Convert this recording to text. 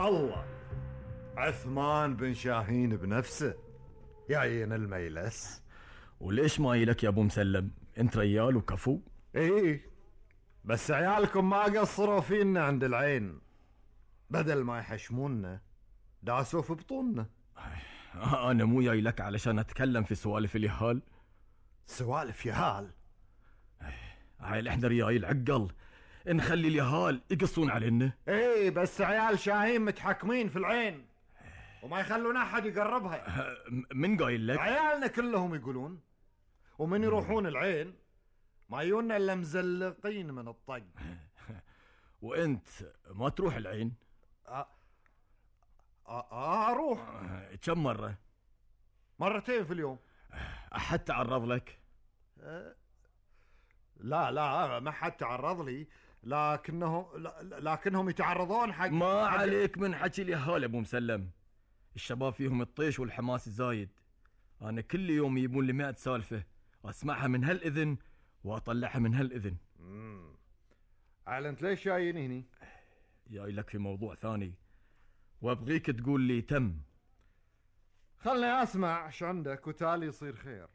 الله، عثمان بن شاهين بنفسه يعين الميلس. وليش ما يلك يا ابو مسلم؟ انت ريال وكفو. ايه بس عيالكم ما قصروا فينا عند العين، بدل ما يحشمونا داسوا في بطوننا. انا مو جاي لك علشان اتكلم في سوالف اليهال. سوالف يهال؟ هاي احنا ريايل عقل، نخلي اليهال يقصون علينا. ايه بس عيال شاهين متحكمين في العين وما يخلون احد يقربها. من قايل لك؟ عيالنا كلهم يقولون، ومن يروحون العين ما يونا الا مزلقين من الطق. وانت ما تروح العين؟ اروح. كم مرة؟ مرتين في اليوم. احد تعرض لك؟ لا ما حد تعرض لي، لكنهم يتعرضون حق. ما عليك من حكي اليهال ابو مسلم، الشباب فيهم الطيش والحماس الزايد. انا كل يوم يجيبون لي 100 سالفة اسمعها من هالاذن واطلعها من هالاذن. انت ليش جايين هني؟ جاي لك في موضوع ثاني وابغيك تقول لي تم. خلني اسمع ايش عندك وتالي يصير خير.